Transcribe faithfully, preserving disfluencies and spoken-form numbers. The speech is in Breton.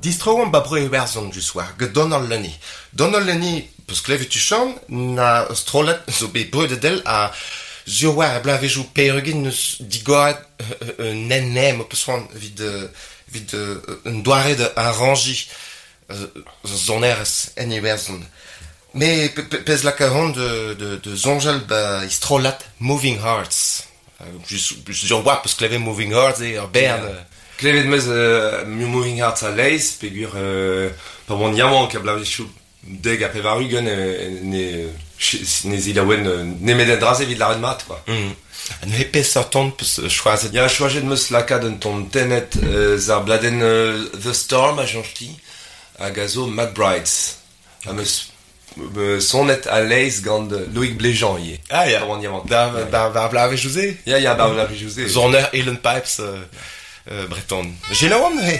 Distro ba bro Iwerzhon just war, get Donald Lunny. Donald Lunny, peus klevet tuchant, na strollad zo bet breudet del a zur war a blavezioù peurugin neus digoret un en em peus c'hoant evit, evit un doare de arranji sonerezh en Iwerzhon. Me pezh laka hon de, de, de zonjal ba istrollad Moving Hearts. Just, just war peus klevet Moving Hearts e ur bern. Yeah. Klevet meus euh, Moving Hearts a leiz, pegur euh, pa oan yaouank a blavezioù deg a pevar ugent ne, ne zilaouen nemet en draze evit lâret mat, quoi. Mm. Ha neuze peseurt ton peus choazet? Ya, choazet meus lakaat un ton tennet euh, zar bladenn euh, The Storm a Jean-Chti hag a zo McBrides. Ha meus euh, sonet a leiz gant Loïc Bléjean ivez. Ah ya, Pa oan yaouank. Da, da, da blavezioù-se? Ya, ya, da blavezioù-se. Soner Uilleann Pipes euh, euh, breton. Selaouomp neuze.